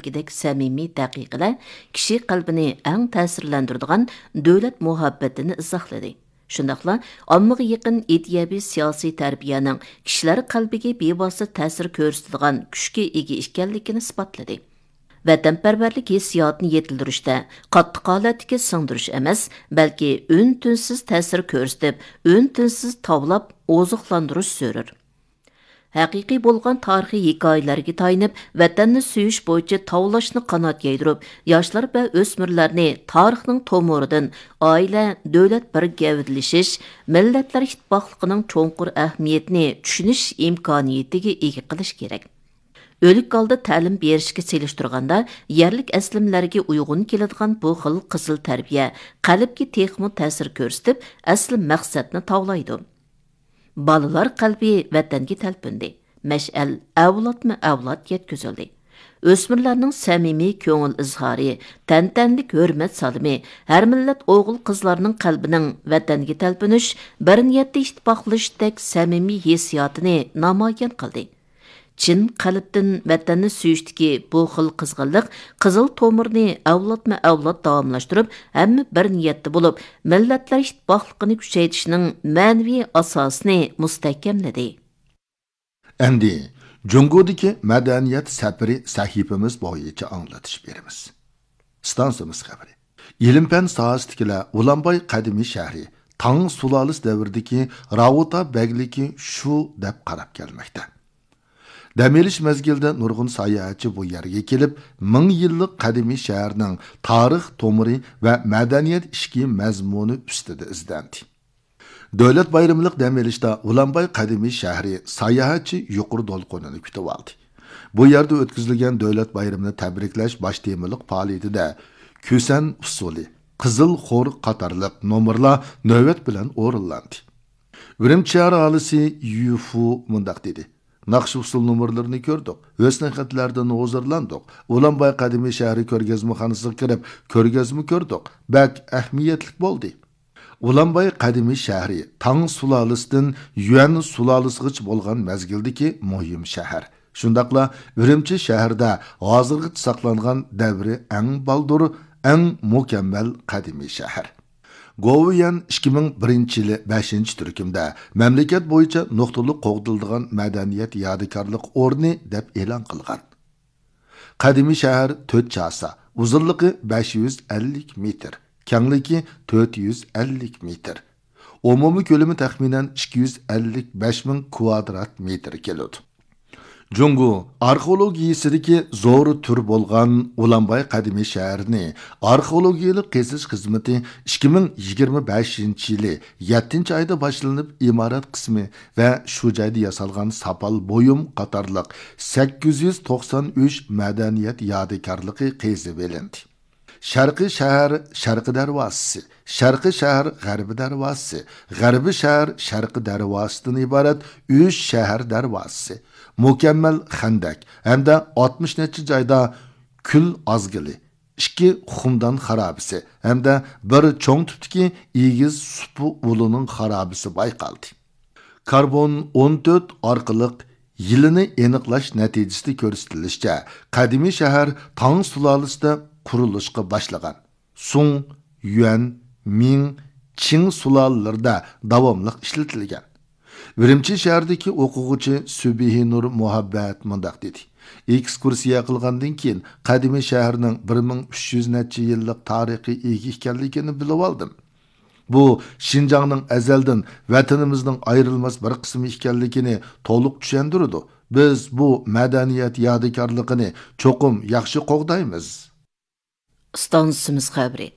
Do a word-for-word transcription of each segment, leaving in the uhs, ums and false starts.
ئىدەك سەمىمىي دەقىقىلەر كىشى قەلبىنى ئەڭ تەسىرلەندۈرىدىغان دۆلەت مۇھەببىتىنى ئىزاھلىدى. شۇنداقلا ئاممىغا يېقىن ئىدىيەۋى سىياسىي تەربىيەنىڭ كىشىلەر قەلبىگە بىۋاسىتە تەسىر كۆرسىتىدىغان كۈچكە ئىگە ئىكەنلىكىنى ئىسپاتلىدى. ۋەتەنپەرۋەرلىك ھېسسىياتىنى يېتىلدۈرۈشتە قاتتىق ھالەتتىكى سىڭدۈرۈش ئەمەس، بەلكى ئۈن-تىنسىز تەسىر كۆرسىتىپ، ئۈن-تىنسىز تاۋلاپ ئوزۇقلاندۇرۇش زۆرۈر. ھەقىقىي بولغان تارىخىي ھېكايىلەرگە تايىنىپ، ۋەتەننى سۆيۈش بويىچە تاۋلاشنى قانات يايدۇرۇپ، ياشلار ۋە ئۆسمۈرلەرنى تارىخنىڭ تومۇرىدىن ئائىلە، دۆلەت بىر گەۋدىلىشىش، مىللەتلەر ئىتتىپاقلىقىنىڭ چوڭقۇر ئەھمىيىتىنى چۈشىنىش ئىمكانىيىتىگە ئىگە قىلىش كېرەك. ئۆلۈك ھالدا تەلىم بېرىشكە سېلىشتۇرغاندا، يەرلىك ئەسلىمىلەرگە ئۇيغۇن كېلىدىغان بۇ خىل قىزىل تەربىيە قەلبكە تېخىمۇ تەسىر كۆرسىتىپ، ئەسلى مەقسەتنى تاۋلايدۇ. بالىلار قەلبى ۋەتەنگە تەلپۈندى. مەشئەل ئەۋلادمۇ ئەۋلاد يەتكۈزۈلدى. ئۆسمۈرلەرنىڭ سەمىمىي كۆڭۈل ئىزھارى، تەنتەنىلىك ھۆرمەت سالىمى، ھەر مىللەت ئوغۇل-قىزلارنىڭ قەلبىنىڭ ۋەتەنگە تەلپۈنۈش، بىر نىيەتتە ئىتتىپاقلىشىشتەك سەمىمىي ھېسسىياتىنى نامايان قىلدى. چىن قەلبتىن ۋەتەننى سۆيۈشتىكى بۇ خىل قىزغىنلىق قىزىل تومۇرنى ئەۋلادمۇ ئەۋلاد داۋاملاشتۇرۇپ، ھەممە بىر نىيەتتە بولۇپ، مىللەتلەر ئىتتىپاقلىقىنى كۈچەيتىشنىڭ مەنىۋى ئاساسىنى مۇستەھكەملىدى. ئەمدى جۇڭگودىكى مەدەنىيەت سەپىرى سەھىپىمىز بويىچە ئاڭلىتىش بېرىمىز. ئىستانسىمىز خەۋىرى. ئىلىم-پەن ساھەسىدىكىلەر ئۇلانباي قەدىمىي شەھىرى، تاڭ سۇلالىسى دەۋرىدىكى راۋۇتا بەگلىكى شۇ دەپ قاراپ كەلمەكتە. دەم ئېلىش مەزگىلىدە نۇرغۇن ساياھەتچى بۇ يەرگە كېلىپ، مىڭ يىللىق قەدىمىي شەھەرنىڭ تارىخ تومۇرى ۋە مەدەنىيەت ئىچكى مەزمۇنى ئۈستىدە ئىزدەندى. دۆلەت بايرىملىق دەم ئېلىشتا ئۇلانباي قەدىمىي شەھىرى ساياھەتچى يۇقىرى دولقۇنىنى كۈتۈۋالدى. بۇ يەردە ئۆتكۈزۈلگەن دۆلەت بايرىمىنى تەبرىكلەش باش تېمىلىق پائالىيىتىدە كۈسەن ئۇسسۇلى، قىزىل خور قاتارلىق نومۇرلار نۆۋەت بىلەن ئورۇنلاندى. ئۈرۈمچى شەھەر ئاھالىسى يۈفۇ مۇنداق دېدى: ناخشا ئۇسسۇل نومۇرلىرىنى كۆردۇق، ھۆسنى خەتلەردىن ھۇزۇرلاندۇق، ئۇلانباي قەدىمىي شەھىرى كۆرگەزمىخانىسىغا كىرىپ كۆرگەزمە كۆردۇق، بەك ئەھمىيەتلىك بولدى. ئۇلانباي قەدىمىي شەھىرى تاڭ سۇلالىسىدىن يۈەن سۇلالىسىغىچە بولغان مەزگىلدىكى مۇھىم شەھەر. شۇنداقلا ئۈرۈمچى شەھىرىدە ھازىرغىچە ساقلانغان دەۋرى ئەڭ بالدۇر، ئەڭ مۇكەممەل قەدىمىي شەھەر. گوۋۇيۈەن ئىككى مىڭ بىرىنچى يىلى بەشىنچى تۈركۈمدە مەملىكەت بويىچە نۇقتىلىق قوغدىلىدىغان مەدەنىيەت يادىكارلىق ئورنى دەپ ئېلان قىلغان. قەدىمىي شەھەر تۆت چاسا، ئۇزۇنلۇقى بەش يۈز ئەللىك مېتىر، كەڭلىكى تۆت يۈز ئەللىك مېتىر. ئومۇمىي كۆلىمى تەخمىنەن ئىككى يۈز ئەللىك بەش مىڭ كۋادرات مېتىر كېلىدۇ. جۇڭگو ئارخېئولوگىيىسىدىكى زور تۈر بولغان ئۇلانباي قەدىمىي شەھىرىنى ئارخېئولوگىيەلىك قېزىش خىزمىتى ئىككى مىڭ يىگىرمە بەشىنچى يىلى يەتتىنچى ئايدا باشلىنىپ، ئىمارەت قىسمى ۋە شۇ جايدا ياسالغان ساپال بۇيۇم قاتارلىق سەككىز يۈز توقسان ئۈچ مەدەنىيەت يادىكارلىقى قېزىۋېلىندى. شەرقىي شەھەر شەرقىي دەرۋازىسى، شەرقىي شەھەر غەربىي دەرۋازىسى، غەربىي شەھەر شەرقىي دەرۋازىسىدىن ئىبارەت ئۈچ شەھەر دەرۋازىسى، مۇكەممەل خەندەك ھەمدە ئاتمىش نەچچە جايدا كۈل ئازگىلى، ئىككى خۇمدان خارابىسى ھەمدە بىر چوڭ تىپتىكى ئېگىز سۇپا ئۇلىنىڭ خارابىسى بايقالدى. كاربون ئون تۆت ئارقىلىق يىلىنى ئېنىقلاش نەتىجىسىدە كۆرسىتىلىشىچە، قەدىمىي شەھەر تاڭ سۇلالىسىدا قۇرۇلۇشقا باشلىغان. سۇڭ، يۈەن، مىڭ، چىڭ سۇلالىلىرىدە داۋاملىق ئىشلىتىلگەن. ئۈرۈمچى شەھىرىدىكى ئوقۇغۇچى سۈبھىنۇر مۇھەببەت مۇنداق دېدى: ئېكسكۇرسىيە قىلغاندىن كېيىن، قەدىمىي شەھەرنىڭ بىر مىڭ ئۈچ يۈز نەچچە يىللىق تارىخى ئىگە ئىكەنلىكىنى بىلىۋالدىم. بۇ شىنجاڭنىڭ ئەزەلدىن ۋەتىنىمىزنىڭ ئايرىلماس بىر قىسمى ئىكەنلىكىنى تولۇق چۈشەندۈرىدۇ. بىز بۇ مەدەنىيەت يادىكارلىقىنى چوقۇم ياخشى قوغدايمىز. ئىستانسىمىز خەۋىرى.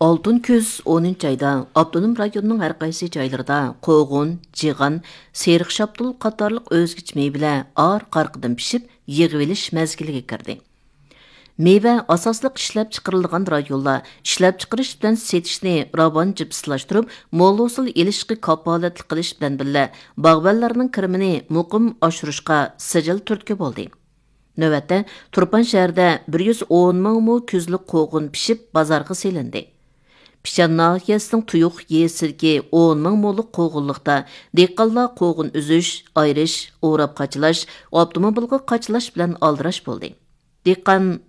ئالتۇن كۈز ئونىنچى ئايدا ئاپتونوم رايوننىڭ ھەر قايسى جايلىرىدا قوغۇن، جىغان، سېرىق شاپتۇل قاتارلىق ئۆزگىچە مېۋىلەر ئارقا-ئارقىدىن پىشىپ، يىغىۋېلىش مەزگىلىگە كىردى. مېۋە ئاساسلىق ئىشلەپچىقىرىلىدىغان رايونلار ئىشلەپچىقىرىش بىلەن سېتىشنى راۋان جىپسىلاشتۇرۇپ، مول ھوسۇل ئېلىشقا كاپالەتلىك قىلىش بىلەن بىللە، باغۋەنلەرنىڭ كىرىمىنى مۇقىم ئاشۇرۇشقا سىجىل تۈرتكە بولدى. نۆۋەتتە، تۇرپان شەھىرىدە بىر يۈز ئون مىڭ مو كۈزلۈك قوغۇن پىشىپ بازارغا سېلىندى. پىشان ناھىيەسىنىڭ تۇيۇق يېزىسىدىكى ئون مىڭ مولۇق قوغۇنلۇقتا دېھقانلار قوغۇن ئۈزۈش، ئايرىش، ئوراپ قاچىلاش، ئاپتوموبىلغا قاچىلاش بىلەن ئالدىراش بولدى. دېھقان